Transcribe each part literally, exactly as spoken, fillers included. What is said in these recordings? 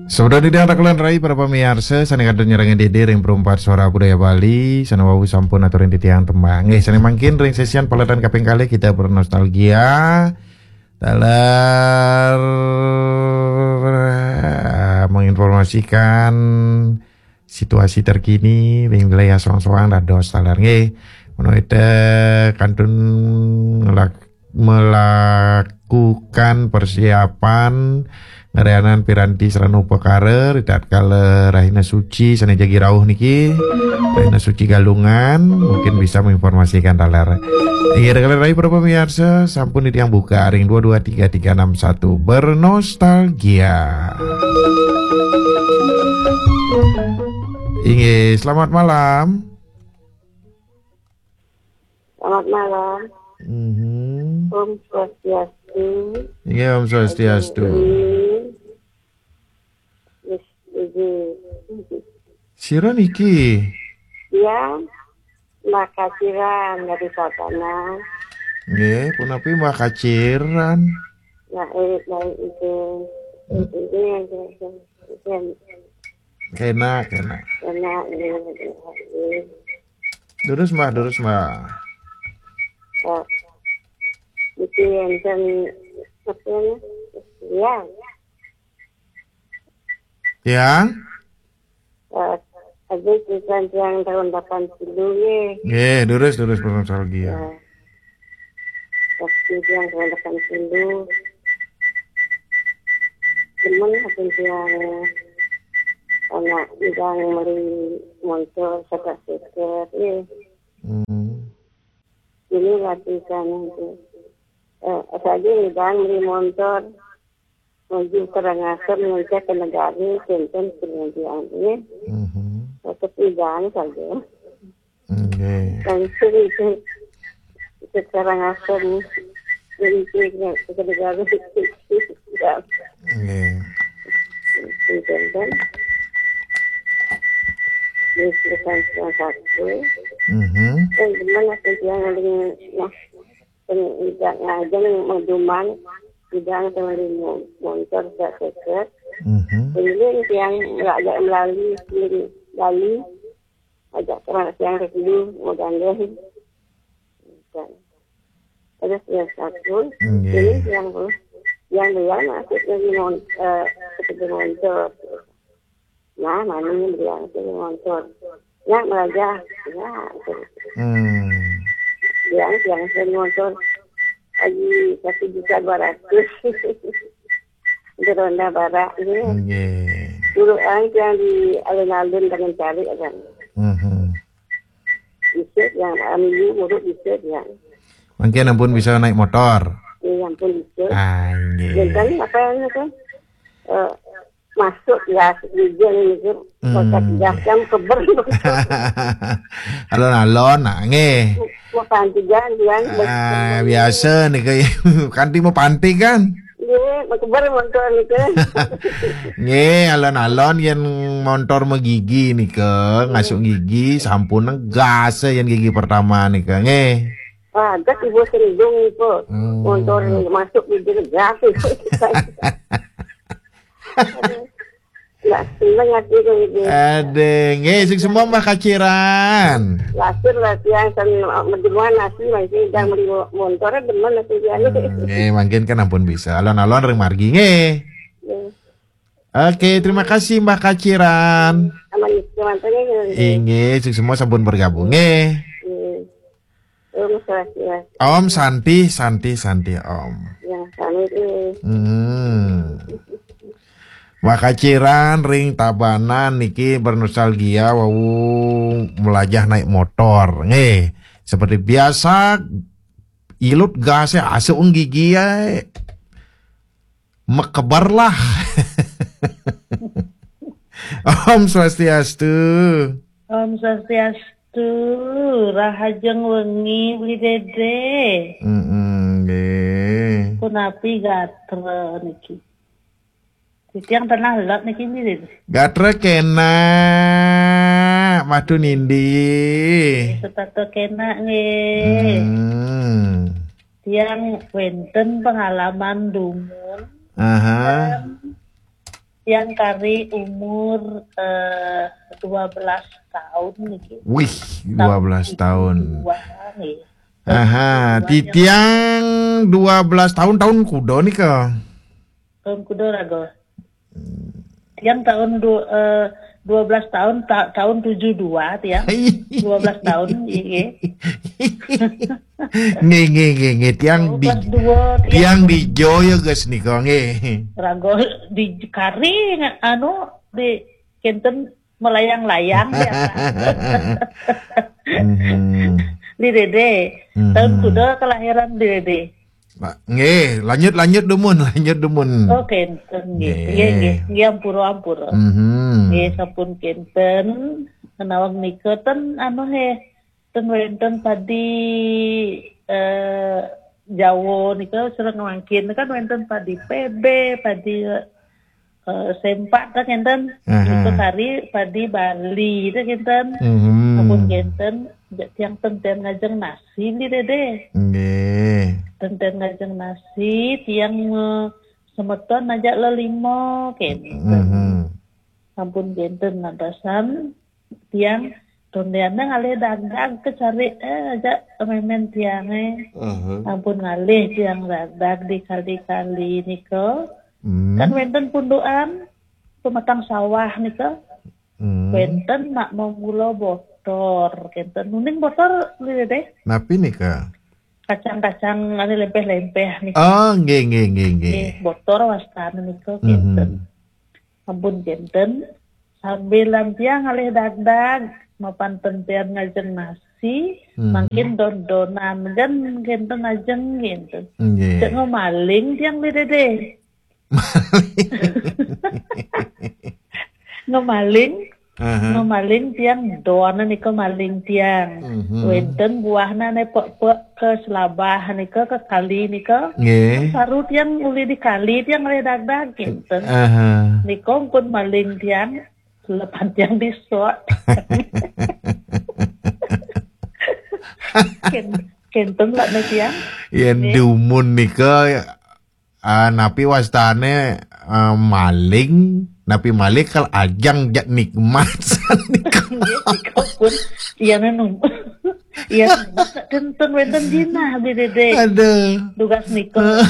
Sampun titiang takelan rai para pamiarsa sané kantun nyarengin Dédé ring Perumpat Suara Budaya Bali, sané wau sampun aturin titiang tembang. Nggih, sané mangkin ring sesian paletan kaping kalih kita bernostalgia. Taler, eh, menginformasikan situasi terkini ring wilayah soang-soang dados taler nggih. Menawi té kantun ngelak-, melakukan persiapan ngerianan piranti sarana upakara ritatkala rahina suci sané jagi rauh niki, rahina suci Galungan, mungkin bisa menginformasikan taler. Inggih, taler rai para pamiarsa, sampun titiang buka ring dua dua tiga tiga enam satu bernostalgia. Inggih, selamat malam. Selamat malam. Mhm. Om Swastiastu. Inggih, Om Swastiastu. Ini, ini. Sira niki? Ya, Mbah Kaciran dari Sabana. Nggih, punapi Mbah Kaciran? Ya, eh, baik itu. Hmm. Ini yang saya, saya, saya Kena, kena. Kena, eh, eh, eh. Durus, Mbah, durus, Mbah. Oh. Itu yang saya, apa ya? Ya. Yang? Eh, ada tulisan yang tahun delapan puluh ya. Nggih, durus, durus, bernostalgia. Ya. Waktu yang tahun delapan puluh. Cuman waktu yang anak bilang beli motor sebelas seter, ya. Hmm. Ini latihan itu. Eh, saja bilang beli motor. Menuju Karangasem, ngecek ke negara, tenten kemudian, ya. Mhm. Tetap bilang saja. Nggih. Dan sering itu, itu Karangasem, jadi itu ke, ke negara, ya. Nggih. Tenten. Di sekitar satu. Mhm. Dan gimana sih yang paling, nah, Pengidang ngajeng meduman, idang tengah limo montor sak seket. Mhm. Kemudian tiang ngajak melali, kirim Bali, ajak terang tiang ke dulu, mau gandeng. Ada tiang satu, Nggih. Ini tiang pun, tiang dia masuk dari mon-, eh, ke montor. Nah, mami bilang, "Sini montor." Ya, melajah. Ya, gitu. Hmm. Bilang, "Yang sini montor lagi satu juta dua ratus." Di Ronda Barat, ya. Nggih. Dulu yang, yang di alun-alun dengan cari, kan. Mhm. Bisa, yang ambil, urut bisa, ya. Mungkin ampun bisa naik motor. Iya, ampun bisa. Ah, nggih. Dan kan apa yang itu? Eh, masuk gas, hujan gitu. Hmm. Masuk gas, kan keber. Alon-alon, nah, nggih. Mau panti kan, kan. Ah, biasa nih, kayak kanti mau panti kan? Iya, mau keber montor gitu. Nggih, alon-alon yang montor megigi nih ke, ngasuk gigi, sampun gas yang gigi pertama nih ke, nggih. Wah, gas ibu sendung itu. Hmm. Montor masuk di gas itu. Nggak seneng hati itu, gitu. Aduh, nggih, sing semua Mbah Kaciran. Lahir lah, tiang, sen, mendemuan nasi, masih udah beli mo-, montor, demen nasi dia. Hmm, nggih, mungkin kan ampun bisa. Alon-alon ring margi, nggih. Nggih. Oke, terima kasih, Mbah Kaciran. Sama nih, teman-teman, nggih. Inggih, sing semua sampun bergabung, nggih. Nggih. Om Swastiastu. Om Santi, Santi, Santi, Om. Ya, kami itu. Hmm. Mbah Kaciran ring Tabanan niki bernostalgia wau melajah naik motor. Nggih, seperti biasa, ilut gasnya asuh gigi ya. Mekeber lah. Om Swastiastu. Om Swastiastu. Rahajeng wengi, Bli Dede. Mm-mm, nggih. Punapi gatra niki? Titiang tenah lot niki, Bli Dede. Gatra kena, madu nindi. Setata kena nggih. Hmm. Tiang wenten pengalaman dumun. Aha. Tiang kari umur, eh, dua belas tahun niki. Wih, dua belas tahun. Dua, nggih. Aha, titiang dua belas tahun, tahun kuda nika? Tahun kuda raga. Tiang tahun du, eh, dua belas tahun, ta, tahun tujuh dua tiang. Dua belas tahun, iya. Nggih, nggih, nggih, nggih. Tiang di, dua, tiang di Joyo, guys, nika, nggih. Raga di kari, anu, di kenten melayang-layang, ya. Mhm. Di Dede. Mhm. Tahun kuda kelahiran di Dede? Pak, nggih, lanjut, lanjut dumun, lanjut dumun. Oh, kenten, nggih. Nggih. Nggih, nggih. Nggih, ampura, ampura. Mhm. Nggih, sampun kenten, menawi nika ten, anu, he, ten wenten padi, eh, Jawa nika sareng mangkin kan wenten padi P B, padi, eh, sempak ta kenten. Aha. Nika kari padi Bali ta kenten. Mhm. Ampun kenten, ja-, tiang ten ten ngajeng nasi di Dede. Nggih. Ten ten ngajeng nasi, tiang, eh, semeton aja lelima kenten. Mhm. Ampun kenten lantasan tiang tondean ngalih dagdag kecari, eh, aja memen tiange. Aha. Ampun ngalih tiang dagdag di kali-kali nika. Hmm. Kan wenten pundukan pematang sawah nika. Hmm. Wenten nak memula botor, kenten. Uning botor, nggih, Dede? Napi nika? Kacang-kacang anu lempeh-lempeh nika. Oh, nggih, nggih, nggih, nggih. Nggih, botor wastane nika, mhm, kenten. Ampun kenten, sambilan tiang ngalih dagdag, mapan ten ten ngajeng nasi, mhm, mangkin don-donan kan kenten ajeng kenten. Nggih. Cek ngemaling tiang di Dede. Ngemaling, aha, ngemaling tiang don nika maling tiang. Mhm. Wenten buahna ne pek-pek ke selabah nika ke kali nika. Nggih. Saru tiang uli di kali tiang ngalih dagdag kenten. Aha. Nika pun maling tiang, lepan tiang disot. Ken-, kenten lah ne tiang. Yen, nggih, dumun nika, ah, napi wastane, ah, maling, napi maling kal ajang jak nikmat. Nggih, nika pun. Iya, nenu. Iya, nenu. Kenten wenten jinah, Bi Dede. Aduh. Dugas nika.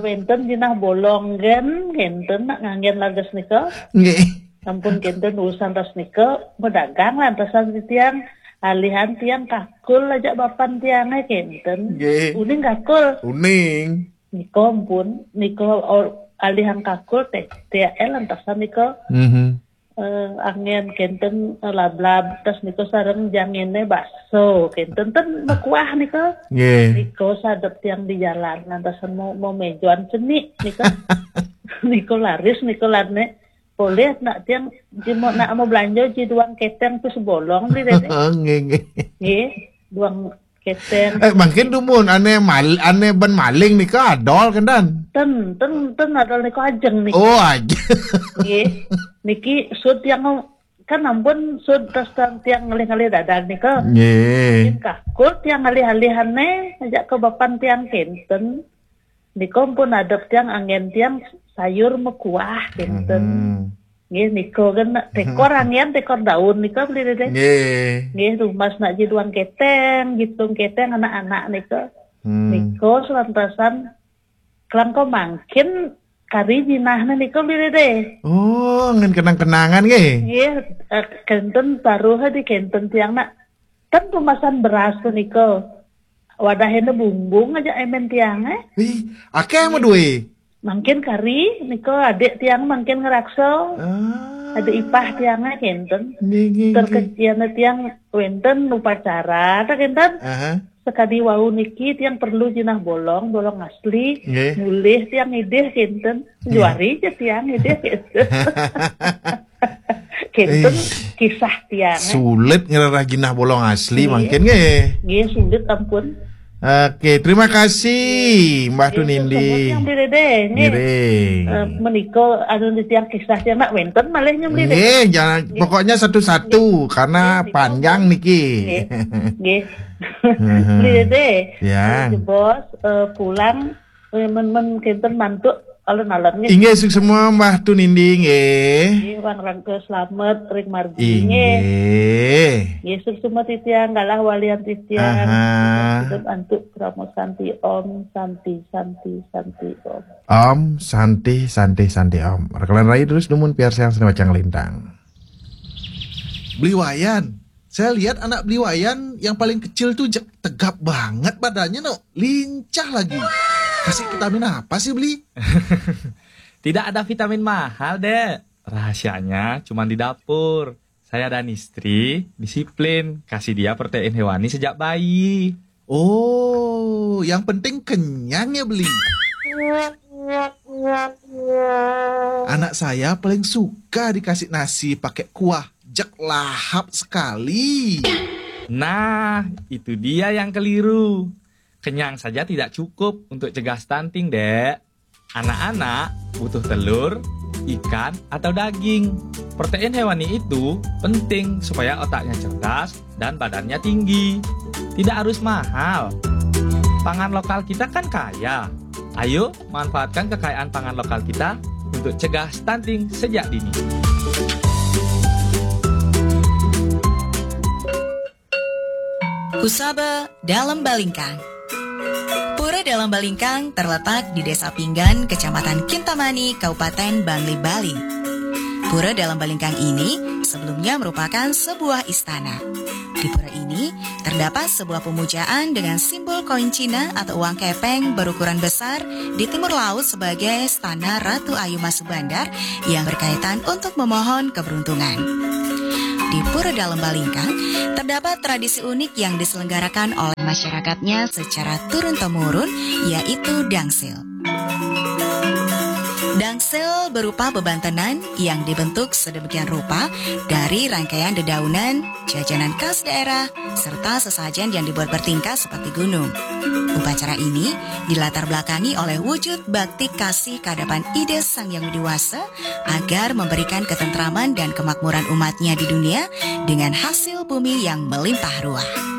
Wenten jinah bolong gen, kenten nak nganggen lages nika. Nggih. Ampun kenten urusan tas nika, bedagang lantasan tiang, alihan tiang kakul aja bapan tiange kenten. Nggih. Uning kakul. Uning. Nika ampun, nika or-, alihan kakul teh, T L lantasan nika. Mhm. Eh, angen kenten, eh, lablab, tas nika sareng jangene bakso, kenten ten mekuah nika. Nggih. Nika sadep tiang di jalan, lantasan mau, mau mejoan cenik nika. Nika laris, nika lane. Boleh nak tiang, ji mau, nak mau belanja ji duang keteng tu sebolong beli deh. Nggih, nggih. Nggih, duang keteng. Eh, mangkin dumun, ane mal-, ane ben maling nika adol, kenten? Ten, ten, ten adol nika ajeng nika. Oh, ajeng. Nggih. Niki sud tiang kan ampun sud tas tiang ngalih-ngalih dadan nika. Nggih. Mungkin kakul tiang ngalih-alihane aja ke bapan tiang kenten. Nika pun adep tiang angen tiang sayur mekuah kenten. Mhm. Nggih, nika kan tekor angen, tekor daun nika beli deh. Nggih. Nggih, rumas nak ji duang keteng, jitung keteng anak-anak nika. Hmm. Nika selantasan kelangko mangkin kari jinahne nika beli deh. Oh, ngen kenang-kenangan nggih. Nggih, eh, kenten taruh di kenten tiang nak. Kan pemasan beras tu nika. Wadahne bumbung aja emen tiang, eh. Ih, akeh mau duwe. Mangkin kari nika adik tiang mangkin ngeraksa. Ah. Adik ipah tiang, eh, kenten. Nggih, nggih, nggih. Terkecian tiang wenten upacara, tak kenten. Aha. Sekadi wau niki tiang perlu jinah bolong, bolong asli. Nggih. Mulih tiang idih kenten. Nggih. Juari je tiang idih kenten. Kenten. Ih, kisah tiang, eh. Sulit ngererah jinah bolong asli. Nggih. Mangkin nggih. Nggih, sulit ampun. Oke, terima kasih, Mbah Tunindi. Nggih, semua tiang beli deh, nggih. Ngiring. Eh, menika anu di tiang kisah tiang nak wenten malih nyem beli deh. Nggih, jangan, nggih, pokoknya satu-satu, nggih, karena nggih, panjang niki. Nggih. Nggih. Heeh. Beli deh. Ya. Eh, jebos, eh, pulang, eh, men, men kenten mantuk alun-alun nggih. Inggih, suksma Mbah Tunindi nggih. Nggih, wangsul selamet ring margi nggih. Inggih. Nggih, suksma titiang, galah walian titiang. Aha. Hidup antuk krama santi, Om Santi, Santi, Santi, Om. Om Santi, Santi, Santi, Om. Rekelan rai terus dumun piarsang seni wacang lintang. Beli Wayan, saya lihat anak Beli Wayan yang paling kecil tuh je-, tegap banget badannya, no. Lincah lagi. Kasih vitamin apa sih, Beli? Tidak ada vitamin mahal, Dek. Rahasianya cuma di dapur. Saya dan istri disiplin, kasih dia protein hewani sejak bayi. Oh, yang penting kenyang ya, Beli. Anak saya paling suka dikasih nasi pakai kuah, jek lahap sekali. Nah, itu dia yang keliru. Kenyang saja tidak cukup untuk cegah stunting, Dek. Anak-anak butuh telur, ikan, atau daging. Protein hewani itu penting supaya otaknya cerdas dan badannya tinggi. Tidak harus mahal. Pangan lokal kita kan kaya. Ayo, manfaatkan kekayaan pangan lokal kita untuk cegah stunting sejak dini. Kusaba Dalem Balingkang. Pura Dalem Balingkang terletak di Desa Pinggan, Kecamatan Kintamani, Kabupaten Bangli, Bali. Pura Dalem Balingkang ini sebelumnya merupakan sebuah istana. Di pura ini terdapat sebuah pemujaan dengan simbol koin Cina atau uang kepeng berukuran besar di timur laut sebagai Istana Ratu Ayu Masubandar yang berkaitan untuk memohon keberuntungan. Di Pura Dalem Balingkang, terdapat tradisi unik yang diselenggarakan oleh masyarakatnya secara turun-temurun, yaitu dangsil. Dangsil berupa bebantenan yang dibentuk sedemikian rupa dari rangkaian dedaunan, jajanan khas daerah, serta sesajen yang dibuat bertingkat seperti gunung. Upacara ini dilatar belakangi oleh wujud bakti kasih ke hadapan Ida Sang Yang Widi Wasa agar memberikan ketentraman dan kemakmuran umatnya di dunia dengan hasil bumi yang melimpah ruah.